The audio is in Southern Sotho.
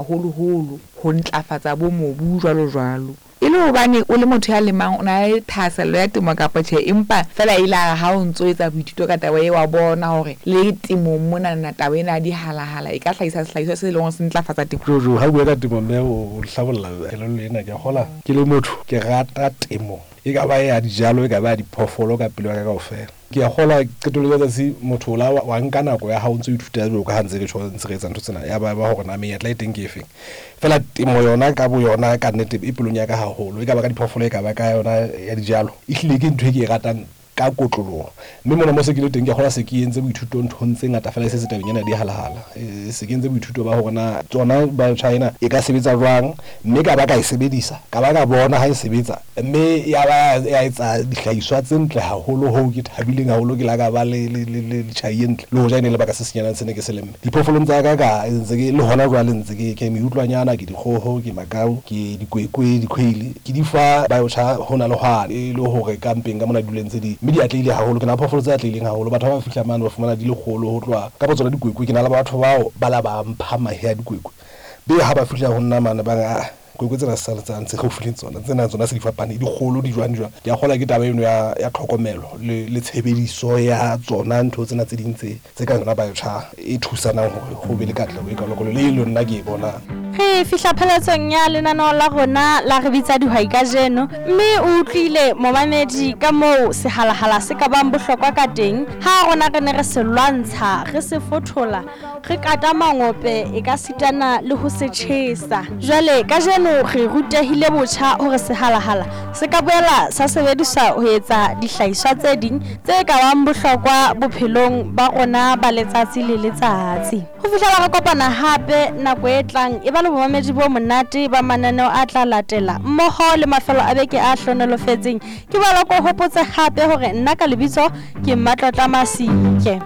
Haholoholo ho ntlafatsa bo mobu jwalo jwalo. E le hobane o le motho ya lemang o na le thahasello ya temo kapa tjhe, empa feela e ile ya re ha o ntso etsa boithuto ka taba e wa bona hore le temong monana taba ena ya dihalahala e ka hlahisa sehlahiswa se leng hore se ntlafatsa temo. Jojo, ha o bua ka temo mme o hlabolla kelello ena, ke a kgola ke le motho ke rata temo e ka ba ya dijalo e ka ba ya diphoofolo ka pelo ya ka kaofela. Ke a kgolwa qetellong ya tsatsi motho o la wa nka nako ya hao o ntso ithuta jwalo ka ha ntse re tjho ntse re etsa ntho tsena ya ba ba hore na menyetla e teng ke efeng. Feela temo yona ka bo yona ka nnete e pelong ya ka haholo, e ka ba ka diphoofolo e ka ba ka yona ya dijalo. Ehlile ke ntho e ke e ratang ka kotloloho. Mme mona mo se ke le teng ke a kgolwa se ke entse boithuto nthong tse ngata feela e se se tabeng ena ya dihalahala. Se ke entse boithuto ba hore na tsona biochar ena e ka sebetsa jwang mme ka ba ka e sebedisa, ka ba ka bona ha e sebetsa. Mme ya ba ya etsa dihlahiswa tse ntle haholo hoo ke thabileng haholo ke la ka ba le, le, le, le tjhai e ntle. Le hoja e ne e le baka se senyenyane se ne ke se lemme. Diphoofolong tsa ka, ka ntse ke, le hona jwale ntse ke, ke meutlwanyana, ke dikgoho, ke makau, ke dikwekwe, dikhweile. Ke di fa biochar hona le hwane e le hore ka mpeng ka mona di dule ntse di, mme di atlehile haholo. Ke na le phoofolo tse atlehileng haholo. Batho ha ba fihla mane ba fumana di le kgolo ho tloha kapa tsona dikwekwe. Ke na le batho bao ba la ba mpha mahe a dikwekwe. Be ha ba fihla ho nna mane ba re, Aa, kwekwe tsena se sa ntse gaufi le tsona, tsena tsona se di fapane, di kgolo, di jwang, di jwang. Ke a kgolwa ke taba eno ya, ya tlhokomelo le, le tshebediso ya tsona ntho tsena tse ding tse, tse kang yona biochar e thusanang hore ho be le katleho e kalokalo le e leng nna ke e bonang. Re fihla pheletsong ya lenaneo la rona la Re Bitsa Dihwai kajeno, mme o utlwile momamedi ka moo sehalahala se ka bang bohlokwa ka teng ha rona re ne re se lwantsha, re se fothola, Re kata mangope e ka sitana le ho se tjhesa. Jwale kajeno re rutehile botjha hore sehalahala se ka boela sa sebediswa ho etsa dihlahiswa tse ding tse ka bang bohlokwa bophelong ba rona ba letsatsi le letsatsi. Ho fihlela re kopana hape nako e tlang, eba le bomamedi bo monate ba mananeo a tla latela mmoho le mafelo a beke a hlohonolofetseng. Ke boela ke o hopotse hape hore nna ka lebitso ke Mmatlotla Masike.